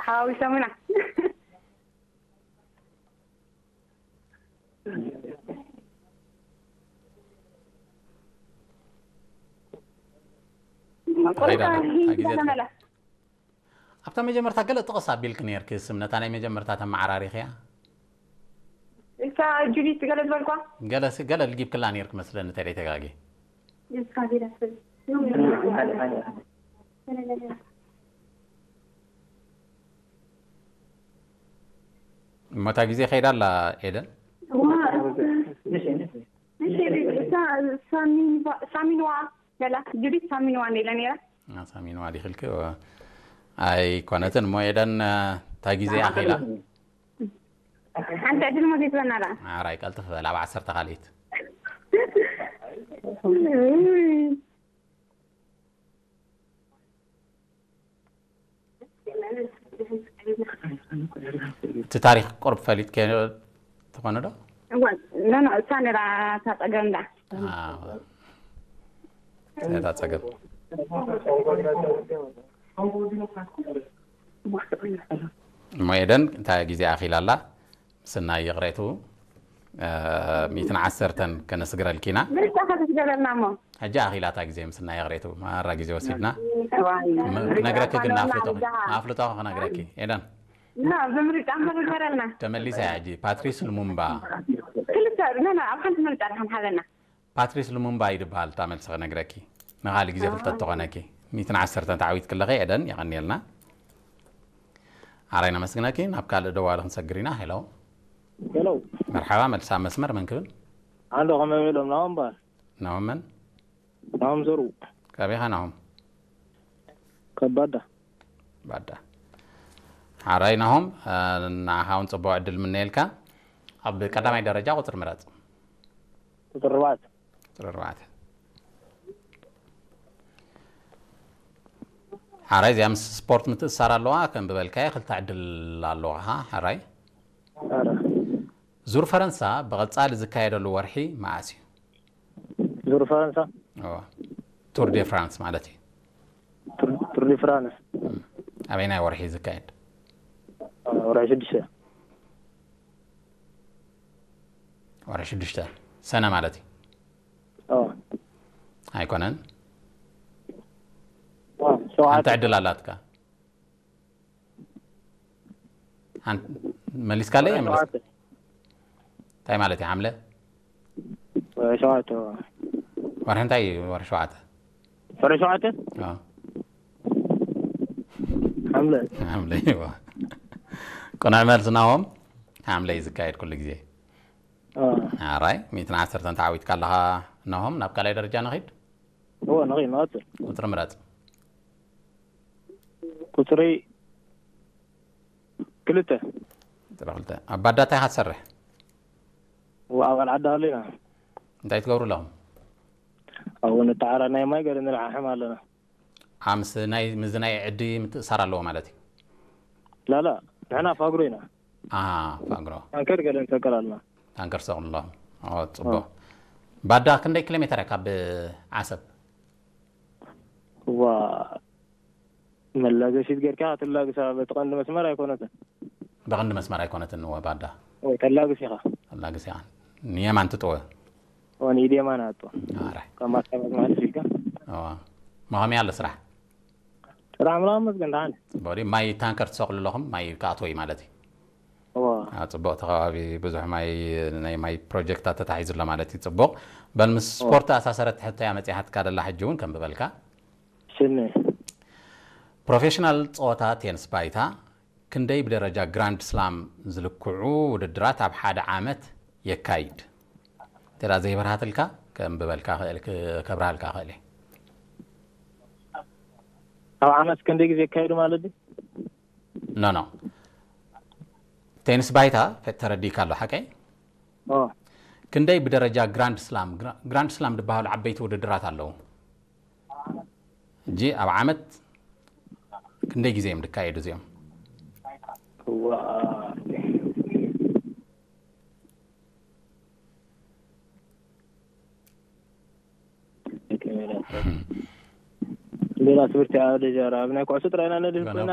ሓዊሶምና። ከይዳ ኣላ፣ እታ ግዜ መላ ኣብታ መጀመርታ ገለ ጥቕስ ኣቢልክ ነርኪ፣ ስም ነታ ናይ መጀመርታ ተመዓራሪኽያ። እታ ጁዲት ገለ ዝበልኳ። ገለ ሲ- ገለ ልጊብክላ ነርክ መስለኒ፣ ተደይ ተጋጊ። እሞ እታ ግዜ ከይዳ ኣላ ኤደን። እታ ሳሚንዋ ሳሚንዋ ገላ ጁዲት ሳሚንዋ እንደ ኢለ ነይራ። ሳሚንዋ ዲኽልክ ኣይኮነትን እሞ ኤደን፣ እታ ግዜ ኣኺላ። ሓንቲ ዕድል ሞ ዘይትበና ደኣ። ኣራይ ቀልጥፍ በል፣ ኣብ ዓሰርተ ካልኢት። እቲ ታሪክ ቁርብ ፈሊጥከዮ ትኾነ ዶ? እዋ፣ ኖ፣ ኖ፣ እሳ ነራ እታ ጸገም ደኣ። ኣዎ። እታ ጸገም። እሞ ኤደን፣ እንታይ ግዜ ኣኺላ ኣላ? ምስናይ ይቕሬቱ፣ እ፣ ሚእትን ዓሰርተን ከነስግረልኪ ኢና። ምርጫ ከተስገረልና እሞ። ሕጂ ኣኺላ እታ ግዜ ምስናይ ይቕሬቱ፣ ማራ ግዜ ወሲድና። እዋይ፣ ም-፣ ምርጫ ክነግረኪ ግን እኳ ኣፍልጦ፣ ነውና። ኣፍልጦ ክነግረኪ። ኤደን። ና፣ ብምርጫ እምበር ንገረልና። ተመሊሳ እያ ሕጂ። ፓትሪስ ሉሙምባ። ክልተ፣ ና፣ ና፣ ኣብ ሓንቲ ምርጫ ደሓን ሓዘና። ፓትሪስ ሉሙምባ እዩ ዝበሃል። እታ መልሲ ክነግረኪ። ንኻልእ ግዜ ፍልጠት ተኾነኪ። ሚእትን ዓሰርተን ተዓዊትኪ ኣለኺ ኤደን፣ የቐንየልና። ኣራይ ነመስግነኪ። ናብ ካልእ ደዋሊ ክንሰግር ኢና። ሄሎ። ሄሎ። መርሓባ፣ መልሲ ኣብ መስመር። መን ክብል? ኣሎ፣ ከመይ ውዒሎም? ናሆም በሃል። ናሆም መን? ናሆም ዘርኡ። ካበይ ኢኻ ናሆም? ካብ ባዳ። ባዳ። ሓራይ ናሆም፣ እ፣ ንዓኻ እውን ጽቡቕ ዕድል ምነየልካ። ኣብ ቀዳማይ ደረጃ ቁጽሪ ምረጽ። ቁጽሪ ኣርባዕተ። ቁጽሪ ኣርባዕተ። ሓራይ፣ እዚኣ ምስ ስፖርት ምትእስሳር ኣለዋ። ከም ብበልካዮ ክልተ ዕድል ኣለዋኻ። ሓራይ። ኣረ። ዙር ፈረንሳ ብቐጻሊ ዝካየደሉ ወርሒ መዓስ እዩ? ዙር ፈረንሳ? እዋ። ቱር ዴ ፍራንስ ማለት እዩ። ቱር፣ ቱር ዲ ፍራንስ። እም። ኣበይናይ ወርሒ እዩ ዝካየድ? ወርሒ ሽዱሽተ። ወርሒ ሽዱሽተ። ሰነ ማለት እዩ። ኣዎ። ኣይኮነን። ኣዎ፣ ሸውዓተ። ሓንቲ ዕድል ኣላትካ። ሓን-፣ መሊስካለይ? መሊስ-፣ ሸውዓተ። እንታይ ማለት እዩ? ሓምለ? ወርሒ ሸውዓተ። ወርሒ እንታይ እዩ? ወርሒ ሸውዓተ? ወርሒ ሸውዓተ? ኣዎ። ሓምለ። ሓምለ፣ እዋ። ቅኑዕ መልሲ ናሆም፣ ሓምለ እዩ ዝካየድ ኩሉ ግዜ። ኣዎ። ኣራይ፣ ሚእትን ዓሰርተን ተዓዊትካ ኣለኻ ናሆም፣ ናብ ካልኣይ ደረጃ ንኺድ? እዎ፣ ንኺድ፣ ንቐጽል። ቁጽሪ ምረጽ። ቁጽሪ ክልተ። ቁጽሪ ክልተ። ኣብ ባዳ እንታይ ኢኻ ትሰርሕ? እዎ፣ ኣባል ዓዲ ሃሎ ኢና። እንታይ ትገብሩ ኣለኹም? ኣብኡ ንተዓራ ናይ ማይ ገለ ንልዓሕም ኣለና። ኣምስ ናይ፣ ምስ ናይ ዕዲ ምትእሳር ኣለዎ ማለት እዩ? ላላ፣ ንሕና ፋግሮ ኢና። ኣሃ፣ ፋግሮ። ታንከር ገለ ንሰቅል ኣለና። ታንከር ትሰቕሉ ኣለኹም። ኦ፣ ጽቡቕ። ኦ። ባዳ ክንደይ ኪሎ ሜተር እያ ካብ ዓሰብ? እዋ፣ መላገሲት ጌርካ ትላግሳ፣ በቲ ቀንዲ መስመር ኣይኮነትን። ብቐንዲ መስመር ኣይኮነትን፣ እወ፣ ባዳ። እወ፣ ተላግስ ኢኻ። ተላግስ ኢኻ። ንየማን ትጥወ። እወ፣ ንኢድ የማን ኣጥወ። ኣረ። ካብ ማስታወት ማለት ኢልካ። እወ። መኸመይ ኣሎ ስራሕ? ስራሕ ምናምን መስገን ደሓን። ጽቡቕ ድዩ? ማይ ታንከር ትሰቕሉ ኣለኹም? ማይ ክኣትዎ እዩ ማለት እዩ? እወ። ኣብ ጽቡቕ እቲ ከባቢ ብዙሕ ማይ፣ ናይ ማይ ፕሮጀክታት ተታሒዙ ኣሎ ማለት እዩ። ጽቡቕ። በል፣ ምስ እወ። ስፖርት ኣሳሰረት ሕቶያ መጺሓትካ ደላ፣ ሕጂ እውን ከም ዝበልካ። ስኒ። ፕሮፌሽናል ጸወታ ቴንስ ባይታ ክንደይ ብደረጃ ግራንድ ስላም ዝልክዑ ውድድራት ኣብ ሓደ ዓመት የካይድ? እንተ ደኣ ዘይበርሃትልካ፣ ከንብበልካ ክእል፣ ክ-፣ ከብርሃልካ ክእል እየ። ኣብ ዓመት ክንደይ ግዜ የካይዱ ማለት ድዩ? ኖ፣ ኖ። ቴንስ ባይታ ፈ-፣ ተረዲእካ ኣሎ፣ ሓቀይ? ኦ። ክንደይ ብደረጃ ግራንድ ስላም፣ ግራ-፣ ግራንድ ስላም ዝበሃሉ ዓበይቲ ውድድራት ኣለዉ። ሕጂ ኣብ ዓመት ክንደይ ግዜ እዮም ዝካየዱ እዚኦም? እዋ። ሌላ ትምህርቲ ኣብ ደጃራ ኣብ ናይ ኩዕሶ ጥራይ ኢና ነድህብ ኮይና።